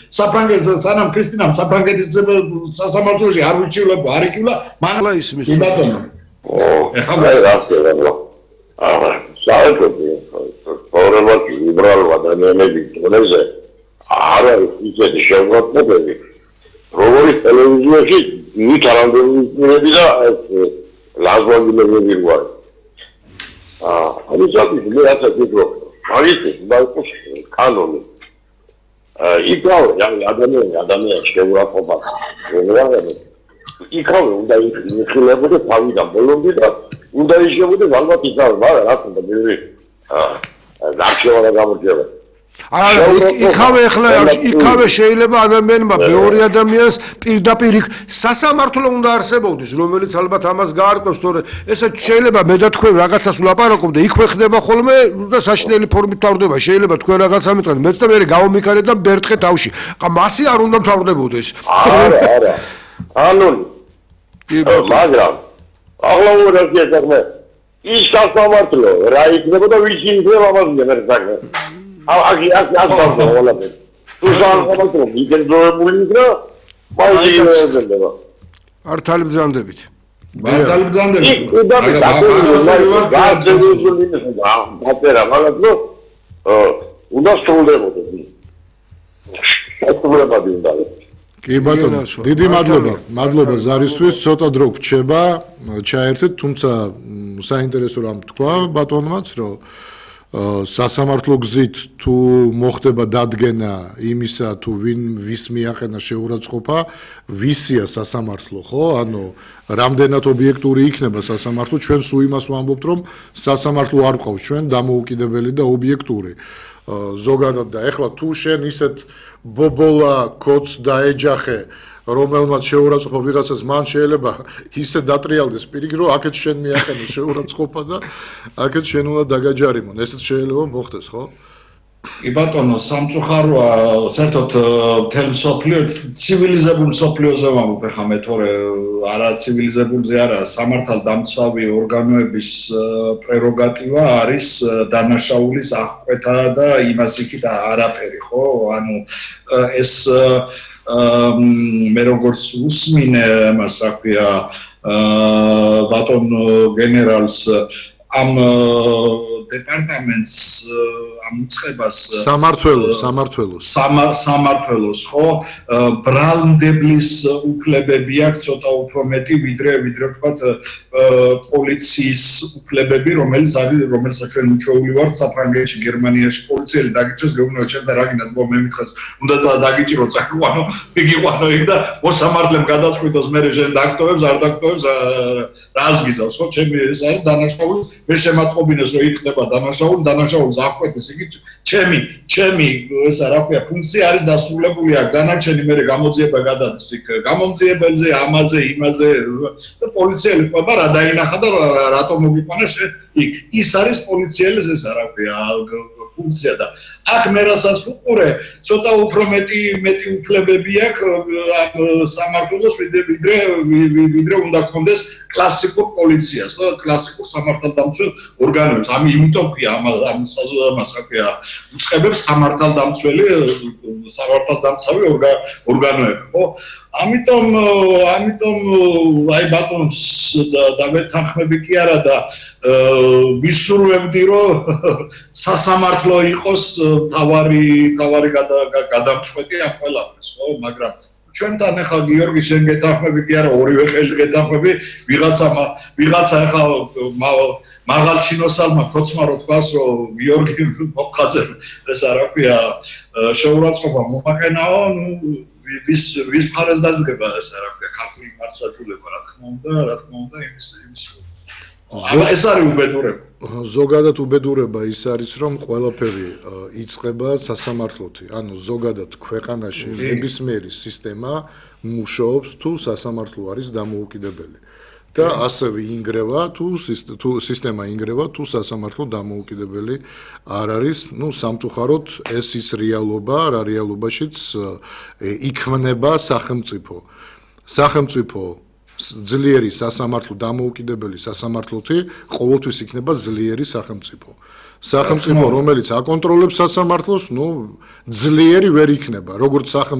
საფრანგეთს სანამ ქრისტინამ საფრანგეთის სასამართლოში არ ვიჩივლებო, არ იკივლა, მანლა ისმის. კი ბატონო. ეხლა რასეა? საერთოდ პრობლემად ლიბერალ ადამიანები თუნდაც არ არის ისეთი შეგვაწყობები. როგორც ტელევიზიაში ნიჭარანდები და ლაზვაგილები ვარ. ამის მე რასაც ვიტყვი, მაგითი ბალკოს კანონი. იქავა ადამიანი შეურაცხყოფა. იქავა უნდა იხილებოდა თავიდან ბოლომდე და უნდა იშებოდა ალბათ იქავა, მაგრამ რა თქმა უნდა, გარჩევა გამორჩევა. იქავე შეიძლება ადამიანმა მეორე ადამიანს პირდაპირ სასამართლო უნდა არსებობდეს, რომელიც ალბათ ამას გაარკვევს, თორე ესე შეიძლება მე და თქვენ რაღაცას ვლაპარაკობ და იქვე ხდება ხოლმე და საშინელი ფორმით თავდება. შეიძლება თქვენ რაღაცა მიტყვეთ, მეც და მე გავომიქარეთ და ბერტყე თავში. მასი არ უნდა მთავრდებოდეს. არა. ანონი. მაგრამ ახლა მოგიწია საქმე. ის სასამართლო რა იქნებოდა ვის იქნება ამას მერე ართალი ბრძანდებით. კი ბატონო, დიდი მადლობა ზარისთვის, ცოტა დრო გრჩება, ჩაერთეთ, თუმცა საინტერესო რამ თქვა ბატონმაც, რომ სასამართლო გზით თუ მოხდება დადგენა იმისა თუ ვის მიაყენა შეურაცხყოფა, ვისია სასამართლო, ხო? ანუ რამდენად ობიექტური იქნება სასამართლო, ჩვენ სულ იმას ვამბობთ, რომ სასამართლო არ ყავს ჩვენ დამოუკიდებელი და ობიექტური. ზოგადად და ეხლა თუ შენ ისეთ ბობოლა კოც დაეჯახე რომელმაც შეურაცხყოფა ვიღაცას მან შეიძლება ისე დატრიალდეს პირიქით რომ აქეთ შენ მიაყენე შეურაცხყოფა და აქეთ შენ უნდა დაგაჯარიმონ ესეც შეიძლება მოხდეს ხო? კი ბატონო სამწუხაროა საერთოდ მთელ მსოფლიო ცივილიზებულ მსოფლიოზე ვამბობ ახლა მე თორე არა ცივილიზებულზე არა სამართალდამცავი ორგანოების პრეროგატივა არის დანაშაულის აღკვეთა და იმას იქით არაფერი ხო? ანუ ეს მე როგორც უსმინე მას რა ქვია ბატონ გენერალს ამ დეპარტამენტს ამ უწყებას სამართლოს ხო ბრალმდებლის უფლებები აქვს ცოტა უფრო მეტი ვიდრე ვთქვათ პოლიციის უფლებები რომელსაც ჩვენ უჩვეული ვართ საფრანგეთში გერმანიაში პოლიციელი დაგიჭრეს გეუბნება ჩემ და რა გინდათ მე მითხეს უნდა დაგიჭირო წაიყვანო მიგიყვანო იქ და მოსამართლემ გადაწყვიტოს მე შენ დაქტოვებს არ დაქტოვებს რას გიზავს ხო ჩემი ეს არის დანაშაული მე შემატყობინეს რომ იქნება დანაშაულს აღკვეთის იგი ჩემი ესა რა ქვია ფუნქცია არის დასრულებული აქ დანარჩენი მე გამოძიება გადადის იქ გამომძიებელზე ამაზე იმაზე და პოლიციელი ყובה რა დაინახა და რატომ მოგიყვანეს იქ ის არის პოლიციელის ესა რა ქვია ფუნქცია და აქ მე რასაც ვუყურე ცოტა უფრო მეტი უფლებები აქვს სამართლოს ვიდრე უნდა გქონდეს კლასიკურ პოლიციას და კლასიკურ სამართალდამცველ ორგანოებს ამი იმიტომ ქვია ამას რა ქვია უწყებებს სამართალდამცავი ორგანოები ხო ამიტომ აი ბატონს დავეთანხმები კი არა და ვისურვებდი რომ სასამართლო იყოს თავარი გადამწყვეტი ამ ყველაფერს ხო მაგრამ ჩვენთან ახლა გიორგი შენ გეთანხმები კი არა ორივე ხელი გეთანხმები ვიღაცა ახლა მაღალჩინოსალმა ქოცმა რო თქვას რომ გიორგი მოხაძე ეს რა ქვია შეურაცხყოფა მომაყენაო ვის მხარეს დადგება ეს რა ქვია ქართული მართლმსაჯულება რა თქმა უნდა იმის ეს არის უბედურება ზოგადად უბედურება ის არის რომ ყველაფერი იწყება სასამართლოთი ანუ ზოგადად ქვეყანაში ნებისმიერი სისტემა მუშაობს თუ სასამართლო არის დამოუკიდებელი და ასევე ინგრევა თუ სისტემა ინგრევა თუ სასამართლო დამოუკიდებელი არ არის ნუ სამწუხაროდ ეს ის რეალობა რა რეალობაშიც იქმნება სახელმწიფო ძლიერი სასამართლო დამოუკიდებელი სასამართლოთი ყოველთვის იქნება ძლიერი სახელმწიფო რომელიც აკონტროლებს სასამართლოს ნუ ძლიერი ვერ იქნება როგორც